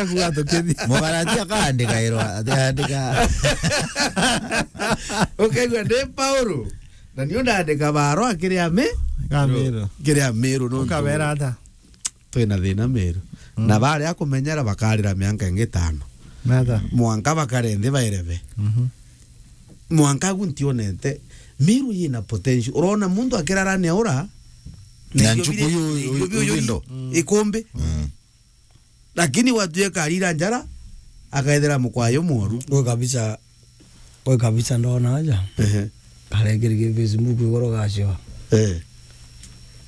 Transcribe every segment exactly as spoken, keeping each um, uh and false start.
Akuga tukithi. Mugaratia akaandika irwa, andika. Ukaigua ndi Paulo. Na niu ndaandika barua kiri ami. Kamiru. Kiri Amiru, nontu Ukabera ata? Twina thina Miru. Mm. Na baria kumenyera bakarira mianka ingi itano. Nata? Mwanka bakare nthi bairebe. Mhm. Mwanka agu ntionete. Miru yina potential. Urona muntu akirarania ura, na na irio nchuku biri, yu, na irio yu, biri yu, yu, indo. Mm. Ikumbi. Mm. Lakini watuika arira njara, akethira mukwayo mworu. Gwe kabisa, gwe kabisa ndona aja. Ehe. Karekiri ki Facebook igoro gacio. Eh.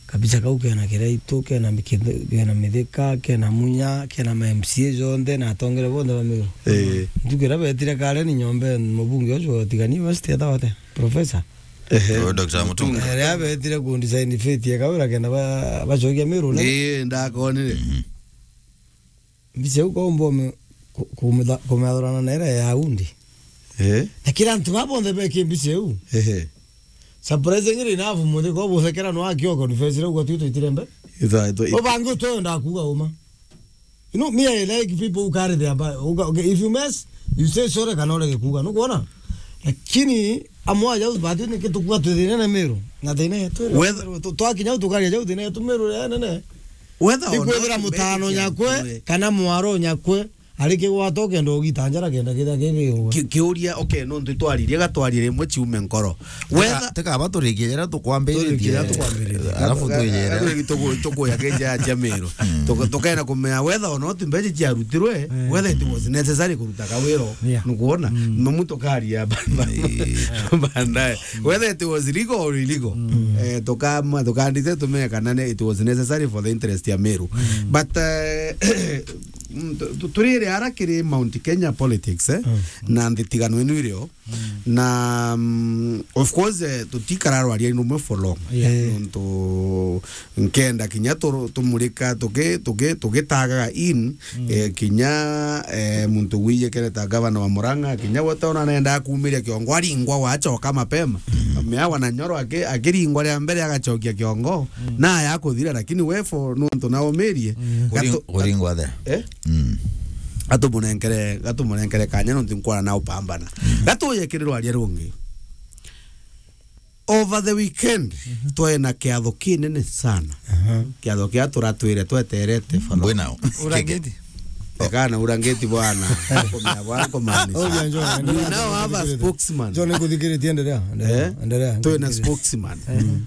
Kabisa kau kena Kiraitu, kena Mikithe-, kena Mithika, kena Munya, kena ma M C A jonthe, na atongere bonthe ba Miru. Eh. Ntuku iria betire kare ni nyombe mubunge ucio wa Tigania West etagwa ate? Professor. Ehe. Oh, Doctor Mutunga. Eria betire ku design fete ya Kawira kenda ba-, bacokia Miru, ne? Ii, ndakonire. Mhm. Mbica iu kaumba ume-, ku-, kumitha-, kumiathurana na iria ya undi. Eh? Na kira antu baa bonthe beki mbica iu. Ehe. Surprisingly enough, muthi kwa buthekera no akio confess ria ugwa twi twitire mbe. Itha, itha, itha. Ubangi utwenda kuuga uma. You know, me, I like people who carry their ba-, uga-, okay, if you mess, you say sorry, kana urege kuuga. Nukwona? Lakini amwe aja batu ni kitukua twi thina na Miru. Na thina yetu. Whether tu-, twakinya tukaria jau thina yetu Miru ya nene. Whether or not ikwithira mutano nyakwe, kana mwaro nyakwe, ari kigwata ukenda ugita njara kenda kithia kigigwa. Ki-, kiuria, okay, nontu twaririe gatwarie rimwe ciume nkoro. Whether teka, teka ba turikie jara tukwambiritie. Turikie jara tukwambiritie. Alafu tujere. Tuku-, tukuya kija ya Miru. Mm. Tuka-, tukaenda kumenya whether or not mbeca ciarutirwe, eh, whether it was necessary kuruta kawiro. Yeah. Nukwona? Mm. Mamu tukaria ba-, ba-, eh, baadaye. Whether it was legal or illegal. Mm. Eh, tukama-, tukandite tumenye kana ne-, it was necessary for the interest ya Miru. Mm. But, eh, mm, tu-, tu-, turire ara kiri Mount Kenya politics, eh? Mm. Na nthigano ino irio. Mm. Na, mm, of course, eh, tutikararwaria numwe for long. Yeah. Eh. Nontu nkenda kinya tu-, tumurika tuki-, tuki-, tugitagaga in, mm, eh, kinya, eh, muntu wiyekere ta gavana wa Murang'a, kinya gwe tona nenda kumiria kiongo, aringwa wachoka mapema. Mm. Mea wa Nanyoro aki-, akiringwa ria mbere agachokia kiongo, mm, na ya kuthira, lakini we for nontu na umirie. Mm. Gatu-, kuringwa the. Eh? Mm. Gatumunenkere, gatumunenkere kanya nontu nkwona na upambana. Mm. Gatuye kiri rwaria rungi. Over the weekend, mhm, twari na kiatho kinene sana. Aha. Kiatho kia turatwire tweterete for long. Mbwina o. Urangiti? Ekana urangiti bwana. Kumia bwana kumaanisha. Oh, yeah, njoo, endelea, endelea. You now have a spokesman. Njoo nikuthikiritie, endelea, endelea, eh? Endelea, twina nikuthikiritie. Spokesman, mhm,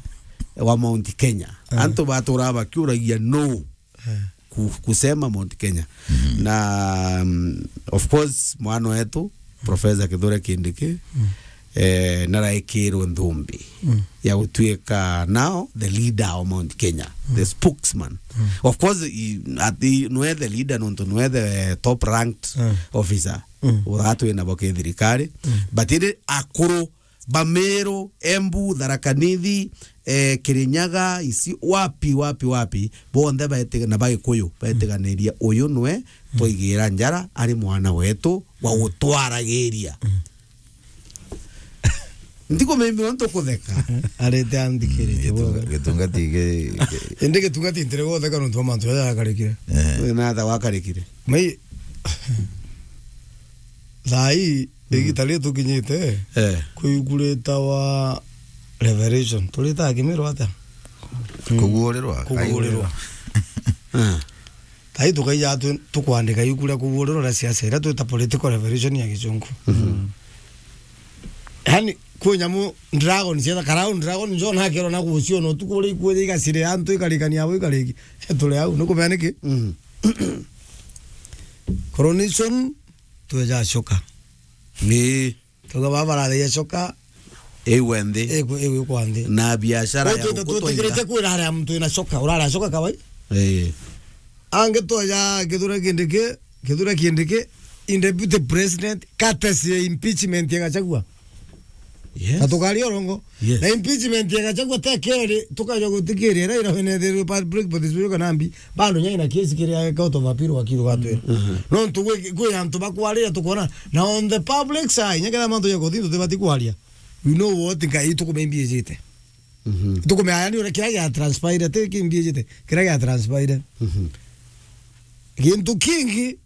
wa Mount Kenya. Aha. Antu batura bakiuragia no. Eh. Ku-, kusema Mount Kenya. Mhm. Na, mm, of course, mwana wetu, Professor Kithure Kindiki, mm, eh, naraikirwe nthumbi, mm, ya gutuika now the leader of Mount Kenya, mm, the spokesman. Mm. Of course, he, at the, nwe the leader nontu nwe the top ranked, mm, officer. Mm. Uratwina bo kithirikari. Mm. But indi akuru Bamiru, Embu, Tharaka Nithi, eh, Kirinyaga, isi, wapi, wapi, wapi, bonthe baetiga-, na Bagikuyu, mm, baetiganiria uyu nwe, mm, twaigira njara, ari mwana wetu wa, mm, gutwaragiria. Mm. Ntikumimbi untu kutheka. Arete anthikiritie. Mm, gitunga-, bwega. Gitunga ti gi-, gi- Indi gitunga ti ntire gutheka nontu wa mantu jaja jakarikire. Eh. Na tha wakarikire. Mai-, thaa ii, mm, igita riri tukinyite, eh, kwi iku ritawa Revelation. Turitaga Kimiru atia? Kuguurirwa. Kuguurirwa. Ah. Thaa ii tukaija tu-, tukwandika iku ria kuguurirwa ria siasa, iria twita political revelation ya Gicungu. Mhm. Yaani, kwi nyamu dragon cietha, karauni dragon njo nakerwa na guciona utuku uria ikuuja igacire antu ikarikania abo ikariki. Turi au, nukumenya niki? Mhm. Coronation, tweja coka. Ii. Tuga baba barathagia coka. Igwe nthi. Igwe, igwe kwa nthi. Na biashara ya gukutwaira. Twitikiritue kwira aria muntu ina coka, urara coka kawai. Ii. Angi twaja Kithure Kindiki, Kithure Kindiki, in deputy president, courtesy ya impeachment ya Gachagua. Yes. Na tukaria urongo. Yes. Na impeachment ya Gachagua te keri, tukaja gutikiria, ira ira wene the public participation kana mbi, bado nyai na kesi kiri ya court of appeal wakiri gatwira. Mhm. No ntu gwi, gwi antu bakwarira tukona, na on the public side, nyakera mantu ya kothi tutibati kwaria. We know what ngai tukumembiejete. Mhm. Tukumenya yani ura kira ya transpire, te kimbiejete, kira ya transpire. Mhm. Gintu kingi,